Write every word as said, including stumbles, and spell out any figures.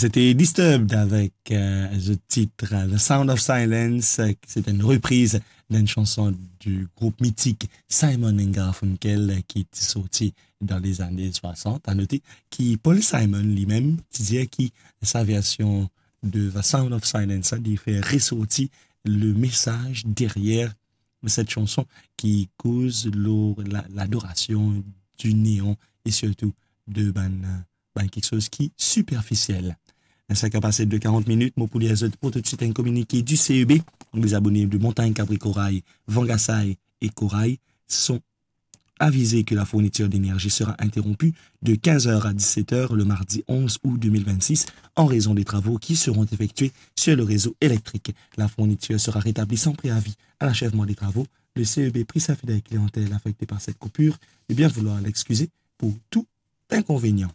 C'était Disturbed avec euh, le titre euh, The Sound of Silence. Euh, C'est une reprise d'une chanson du groupe mythique Simon and Garfunkel euh, qui est sorti dans les années soixante. À noter que Paul Simon lui-même disait que sa version de The Sound of Silence a dû faire ressortir le message derrière cette chanson qui cause l'adoration du néant et surtout de bann, bann quelque chose qui est superficiel. Sa ki a pase de quarante minutes, mo pou lir zot pou tout de suite un communiqué du C E B. Les abonnés de Montagne, Cabri, Corail, Vangasai et Corail sont avisés que la fourniture d'énergie sera interrompue de quinze heures à dix-sept heures le mardi onze août deux mille vingt-six en raison des travaux qui seront effectués sur le réseau électrique. La fourniture sera rétablie sans préavis à l'achèvement des travaux. Le C E B prie sa fidèle clientèle affectée par cette coupure de bien vouloir l'excuser pour tout inconvénient.